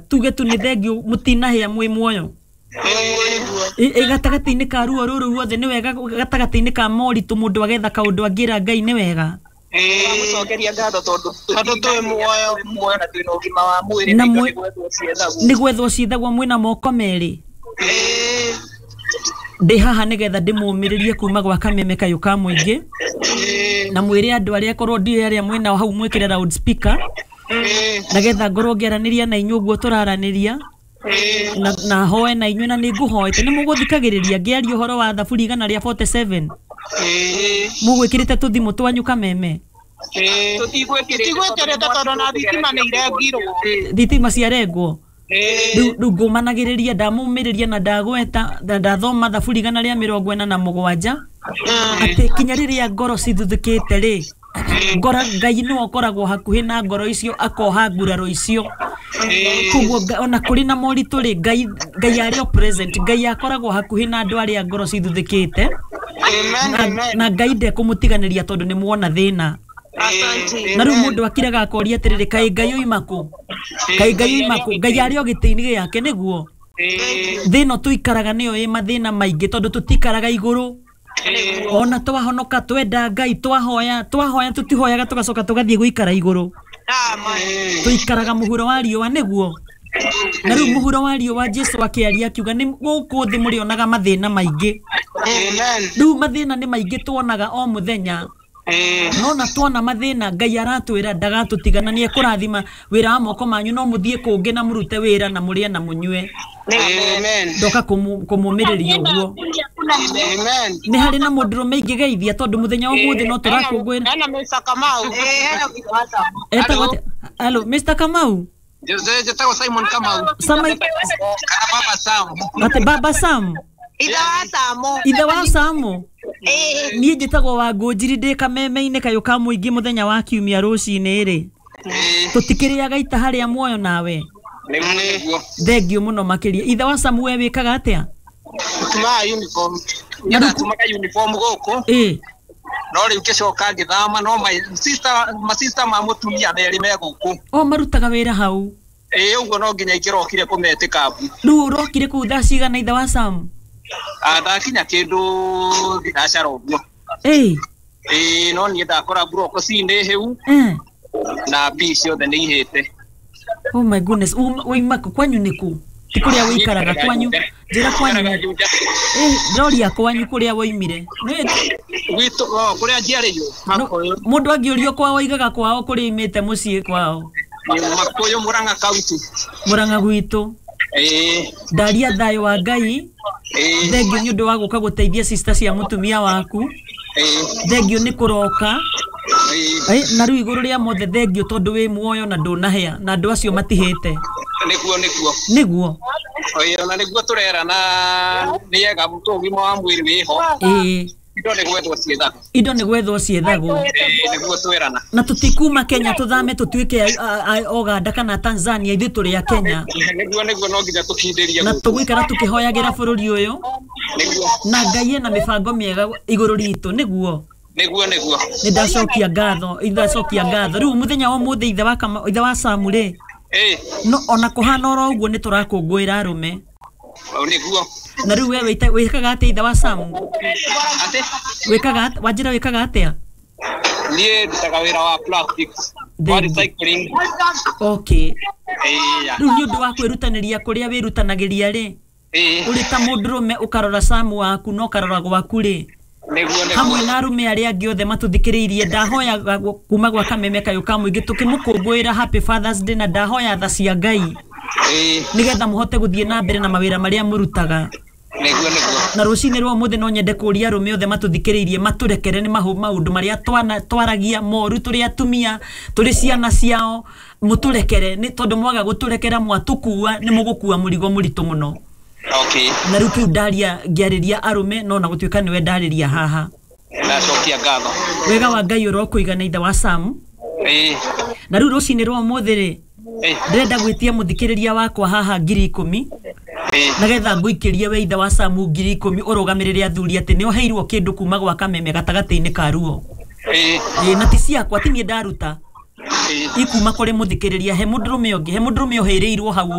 Tuge tu nĩ thengiũ mũtinahĩa mwĩ muoyo. Ĩ gatagatĩ-inĩ ka ruo rũrũ ruothe nĩ wega, gatagatĩ-inĩ ka moritũ mũndũ agetha kaũndũ angĩra Ngai nĩ wega. Tũramũcokeria ngatho tondũ Tondũ twĩ muoyo. Muoyo na twĩna ũgima wa mwĩrĩ Na na indo mwe- nĩ gwethwo ciethagwo. Nĩ gwethwo ciethagwo mwĩna moko merĩ. Ndĩ haha nĩgetha ndĩmũmĩrĩrie kuma gwa Kameme Kayũ ka Mũingĩ na mwĩre andũ arĩa korwo ndiũĩ arĩa mwĩnao hau mwĩkĩre loud speaker nagetha ngorwo ngĩaranĩria na inyuĩ ũguo tũraranĩria na hoe na inyuĩ na nĩ ngũhoete nĩ mũgũthikagĩrĩria ngĩaria ũhoro wa thaburi 147 mũgwĩkĩrĩte tũthimũ twanyu Kameme. Tũtigwĩkĩrĩte. Tũtigwĩkĩrĩte tondũ na thitima nĩ irengirwo. Thitima ciarengwo. Rĩu ngũmanagĩrĩria ndamũmĩrĩria na ndagweta na ndathoma thaburi 147 atĩ kinya rĩrĩa ngoro cithuthĩkĩte rĩ, ngora Ngai nĩwe ũkoragwo hakuhĩ na ngoro icio akoha nguraro icio. Koguo ona kũrĩ na moritũ rĩ, Ngai Ngai arĩ o present, Ngai akoragwo hakuhĩ na andũ arĩa ngoro cithuthĩkĩte na Ngai ndekũmũtiganĩria tondũ nĩ muona thĩna. Na rĩu mũndũ akiraga akoria atĩrĩrĩ, kaĩ Ngai oima kũ? Kaĩ Ngai oima kũ? Ngai arĩ o gĩtĩ-inĩ gĩake nĩguo. Thĩ ĩno tũikaraga nĩyo ĩ mathĩna maingĩ tondũ tũtikaraga igũrũ. Ona twahonoka twenda Ngai twahoya twahoya tũtihoyaga tũgacoka tũgathiĩ gũikara igũrũ. Tũikaraga mũhuro wa riũa nĩguo. Na rĩu mũhuro wa riũa Jesu akĩaria akiuga nĩ gũkũ thĩ mũrĩonaga mathĩna maingĩ. Rĩu mathĩna nĩ maingĩ tuonaga o mũthenya. No na tuona mathĩna Ngai aratwĩra ndagatũtigana nĩ ekũrathima wĩra wa moko manyu no mũthiĩ kũngĩ na mũrute wĩra na mũrĩe na mũnyue. Ndoka kũmũmĩrĩria ũguo. Nĩ harĩ na mũndũrũme ingĩgeithia tondũ mũthenya wa ũmũthĩ no tũrakũngũĩra. Hena Mr. Kamau. Etagwo atĩa? Hello, Mr. Kamau. Njĩtagwo Simon Kamau. Sama kana Baba Sam. Atĩ Baba Sam. Ithe wa Samo. Ithe wa Samo. Niĩ njĩtagwo Wangũnjiri ndĩ Kameme-inĩ Kayũ ka Mũingĩ mũthenya wa kiumia rũcinĩ rĩ. Tũtikĩrĩaga ita harĩa muoyo nawe. Nĩguo nĩguo. Thengiũ mũno makĩria. Ithe wa Samu we wĩkaga atĩa? Tumaga uniform. Niĩ ndatumaga uniform gũkũ no rĩu ngĩcoka ngĩthama no my sister masista ma mũtumia merĩ me gũkũ. O marutaga wĩra hau. Ĩĩ ũguo no nginya ingĩrokire kũmetĩka mbu. Rĩu ũrokire kũu thaa cigana ithe wa Sam? Ndakinya kĩndũ thinacara ũguo. Ĩĩ no niĩ ndakora mburoko ci nĩ hĩu na mbii ciothe nĩ ihĩte. Oh my goodness. Waima kũ? Kwanyu nĩ kũ? Ti kũrĩa wĩikaraga kwanyu. Njĩra kwanyu. Njikaraga Ndĩroria kwanyu kũrĩa woimire. Gwitũ kũrĩa njiarĩirwo. Mũndũ angĩũrio kwao oigaga kwao kũrĩa oimĩte mũciĩ kwao. Makũyũ Murang'a County. Murang'a gwitũ. Ndaria thayũ wa Ngai. Thengiũ nĩ ũndũ wa gũka gũteithia sister cia mũtumia waku. Thengiũ nĩ kũroka. Na rĩu igũrũ rĩa mothe thengiũ tondũ wĩ muoyo na ndũnahĩa na andũ acio matihĩte. Nĩguo nĩguo. Nĩguo. Ona nĩguo tũrera na nĩega ũgima wa mwĩrĩ wĩho. Indo nĩ gwethwo ciethagwo. Indo nĩ gwethwo ciethagwo. Nĩguo twĩrana. Na tũtikuma Kenya tũthame tũtuĩke a Uganda kana Tanzania, ithuĩ tũrĩ a Kenya. Nĩguo nĩguo no nginya tũkindĩrie. Na tũgũikara tũkĩhoyagĩra bũrũri ũyũ. Nĩguo. Na Ngai ena mĩbango mĩega igũrũ ritũ nĩguo. Nĩguo nĩguo. Nĩ ndacokia ngatho, ndacokia ngatho. Rĩu mũthenya wa ũmũthĩ ithe wa Samu rĩ. No ona kũhana oro ũguo nĩ tũrakũngũĩra arũme. Nĩguo. Na rĩu we wĩkaga atĩa ithe wa Samu? Atĩ? Wĩkaga wanjĩra wĩkaga atĩa? Niĩ ndutaga wĩra wa plastics, wa recycling. Okay. Rĩu nĩ ũndũ wa kwĩrutanĩria kũrĩa wĩrutanagĩria rĩ, ũrĩ ta mũndũrũme ũkarora Samu waku na ũkarora gwaku rĩ. Nĩguo nĩguo. Hamwe na arũme arĩa angĩ othe matũthikĩrĩirie ndahoya kuma gwa Kameme Kayũ ka Mũingĩ tũkĩmũkũngũĩra Happy Father's Day na ndahoya tha cia Ngai. Nĩgetha mũhote gũthiĩ na mbere na mawĩra marĩa mũrutaga. Nĩguo nĩguo. Na rũcinĩ rwa ũmũthĩ no nyende kũria arũme othe matũthikĩrĩirie matũrekere nĩ maũndũ marĩa twaragia moru tũrĩ atumia tũrĩ ciana ciao, mũtũrekere nĩ tondũ mwaga gũtũrekera mwatũkua nĩ mũgũkua mũrigo mũritũ mũno. Okay. Na rĩu kĩu ndaria ngĩarĩria arũme no na gũtuĩka nĩwe ndarĩria haha. Ndacokia ngatho. Wega wa Ngai ũrokũigana ithe wa Sam. Na rĩu rũcinĩ rwa ũmũthĩ rĩ, ndĩrenda gwĩtia mũthikĩrĩria wakwa haha 10,000. Nagetha ngũikĩrie we ithe wa Samu 10,000 ũrũgamĩrĩre athuri atĩ nĩ ũheirwo kĩndũ kuma gwa Kameme gatagatĩ-inĩ ka ruo. Na ti ciakwa ti niĩ ndaruta. Ikuma kũrĩ mũthikĩrĩria, he mũndũrũme ũngĩ, he mũndũrũme ũhĩrĩirwo hau.